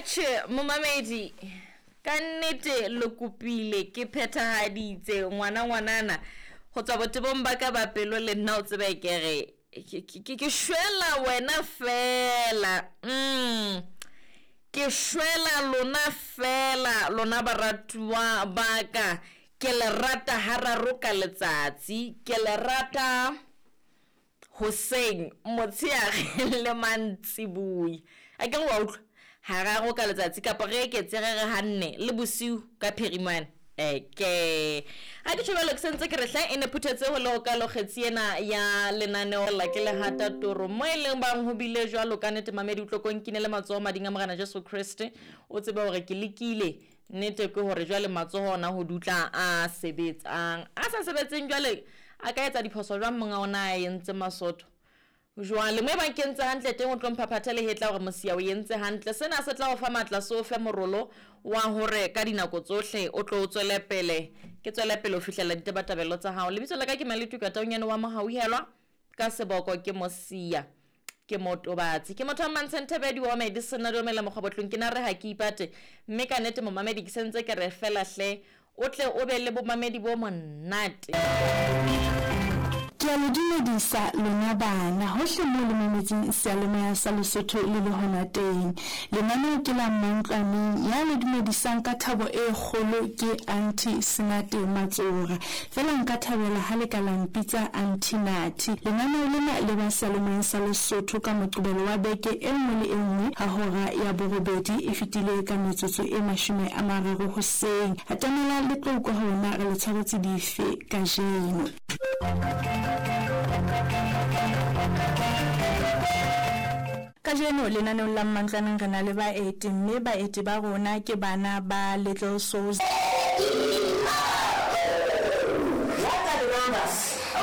Atjhe momamedi, ka nnete le kopile ke phethahaditse ngwana ngwanana go tswa botebong ba ka ba pelo le nna o tsebe ke re ke shwela wena fela. Ke shwela lona fela lona baratuwa ba ka. Ke le rata hararo ka letsatsi, ke le rata hoseng, motsheare le mantsiboya. A ke re wa utlwa? Hararo ka letsatsi kapa re eketse re re hanne le bosiu ka phirimane. Eke. Ha ke tjho jwalo ke sentse ke re hle e ne phuthetse ho le ho kalo kgetsi ena ya lenaneo la ke lehata toro mo e leng bang ho bile jwalo ka nnete mamedi o tlo ko nkinele matsoho mading a Morena Jesu Kreste o tsebe hore ke lekile nnete ke hore jwale matsoho ona ho dutla a sebetsang a sa sebetseng jwale a ka etsa diphoso jwang monga ona a entse masotho. Jwale mo ebang ke entse hantle teng o tlo mphaphathe lehetla hore mosia o entse hantle. Sena se tla o fa matla se o fe morolo wa hore ka dinako tsohle o tlo o tswele pele ke tswele pele ho fihlela ditabatabelo tsa hao. Lebitso la ka ke Maletuka Taunyane wa Mohauhelwa ka seboko ke Mosia ke Motobatsi. Ke motho wa Mmantshe Nthebe di ome di sena di omela mokgwabotlong ke na re ha ke ipate mme ka nnete momamedi ke sentse ke re fela hle o tle o be le bomamedi bo monate. Ke a le dumedisa lona bana hohle moo le mametseng seyalemoya sa Lesotho le le hona teng. Lenaneo ke la Mmantlwaneng, ya le dumedisang ka thabo e kgolo ke Aunty Senate Matsora. Feela nka thabela ha le ka la mpitsa Aunty Nathi. Lenaneo lena le ba seyalemoyeng sa Lesotho ka Moqebelo wa beke e nngwe le e nngwe ha hora ya borobedi e fetile ka metsotso e 30 hoseng. Atamela le tlo utlwa hore na re le tshwaretse dife kajeno. Kajeno lenaneong la Mmantlwaneng re na le baeti mme baeti ba rona ke bana ba Little Souls.